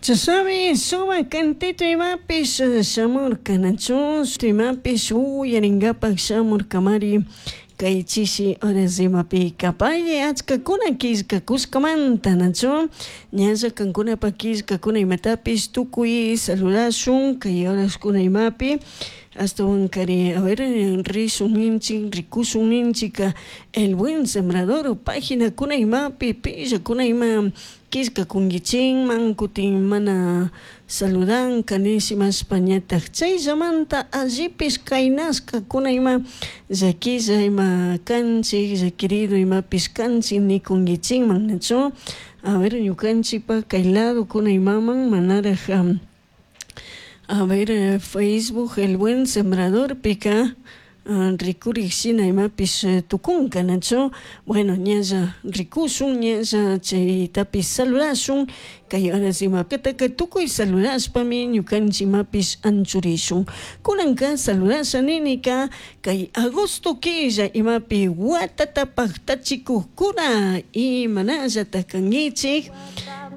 Chashnami sumak cantito imapish shamurka, nachu? Imapish uyarinkapak shamurkamari kay chishi horas imapika pay achkakuna killkakushkamanta, nachu? Ñalla kankunapak killkakuna imatapish tukuy saludashun kay horaskuna imapi ashtawankari, a ver, rishun ninchik, rikushun ninchik El Buen Sembrador paginakuna imapi pillakuna ima killkakunkichikman kutin mana saludanka nishimashpa ñatak chayllamanta allipish kaynashkakuna ima llaquilla ima kanchik, llaquirido imapish kanchik nikunkichikman, nachu? A ver, ñukanchikpak kay ladokuna imaman manarak, a ver, Facebook El Buen Sembrador pika rikurik shina imapish tukunka, nachu? Bueno, ñalla rikushun, ñalla chaytapish saludashun kay horas imapitaka tukuy saludashpami ñukanchik imapish anchurishun. Kunanka saludasha ninika kay agosto killa imapi watata paktachikukkuna imanallata kankichik.